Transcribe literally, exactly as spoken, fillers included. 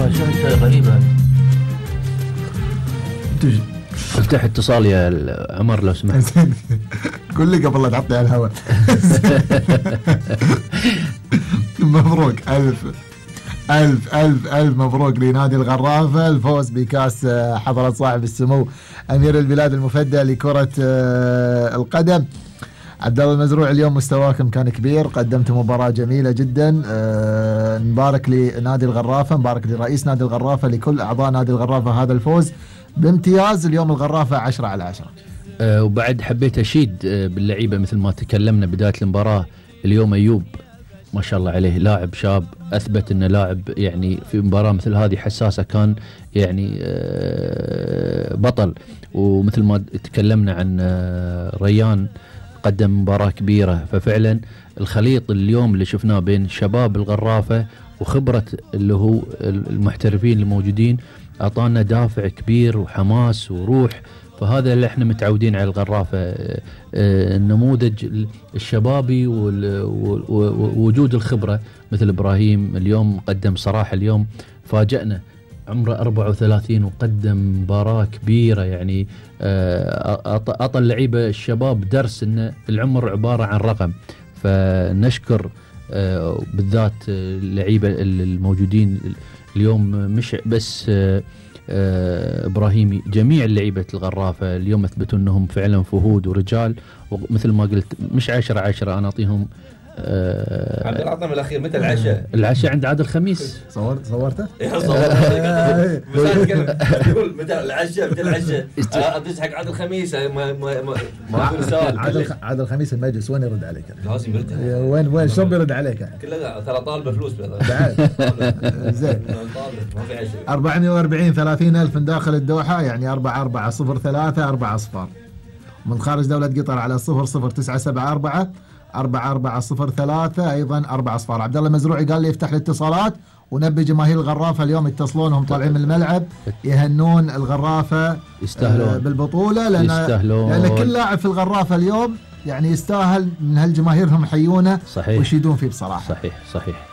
والله شيء غريبة. افتح اتصال يا عمر لو سمحت. قل لي قبل لا تعطي على الهواء. مبروك ألف ألف ألف ألف مبروك لنادي الغرافة الفوز بكأس حضرة صاحب السمو أمير البلاد المفدى لكرة القدم. عبد الله المزروع، اليوم مستواكم كان كبير، قدمتوا مباراة جميلة جدا. أه نبارك لنادي الغرافة، نبارك لرئيس نادي الغرافة، لكل أعضاء نادي الغرافة هذا الفوز بامتياز. اليوم الغرافة عشرة على عشرة. أه وبعد حبيت أشيد أه باللعيبة مثل ما تكلمنا بداية المباراة. اليوم أيوب ما شاء الله عليه لاعب شاب أثبت أنه لاعب يعني في مباراة مثل هذه حساسة كان يعني أه بطل. ومثل ما تكلمنا عن أه ريان قدم مباراة كبيرة. ففعلا الخليط اليوم اللي شفناه بين شباب الغرافة وخبرة اللي هو المحترفين الموجودين أعطانا دافع كبير وحماس وروح. فهذا اللي احنا متعودين على الغرافة، النموذج الشبابي ووجود الخبرة مثل إبراهيم. اليوم قدم صراحة، اليوم فاجأنا، عمره أربعة وثلاثين وقدم مباراة كبيرة. يعني أعطى اللعيبة الشباب درس أن العمر عبارة عن رقم. فنشكر بالذات اللعيبة الموجودين اليوم، مش بس إبراهيمي، جميع اللعيبة الغرافة اليوم أثبتوا أنهم فعلا فهود ورجال. ومثل ما قلت مش عشرة عشرة، أنا أعطيهم أه عبد العظيم الأخير. متى العشاء؟ العشاء عند عادل خميس. صورت صورته؟ إيه صورته. بس يقول متى العشاء متى العشاء؟ أدرس حق عادل خميس. ما ما ما ما أقول سؤال. عادل عادل خميس المجلس وين يرد عليك؟ لازم يرد. وين وين شو بيرد عليك؟ كله ترى طالبه فلوس بعد. زين. ما في عشاء. أربعمائة وأربعين ثلاثين ألف من داخل الدوحة، يعني أربعة أربعة صفر ثلاثة أربعة أصفار. من خارج دولة قطر على صفر صفر تسعة سبعة أربعة أربعة أربعة صفر ثلاثة أيضا أربعة أصفار. عبد الله المزروعي قال لي يفتح الاتصالات ونبي جماهير الغرافة اليوم يتصلونهم طالعين من الملعب يهنون الغرافة يستاهلون بالبطولة، لأن يستاهلون. لأن كل لاعب في الغرافة اليوم يعني يستاهل من هالجماهيرهم يحيونه صحيح ويشيدون فيه بصراحة. صحيح صحيح.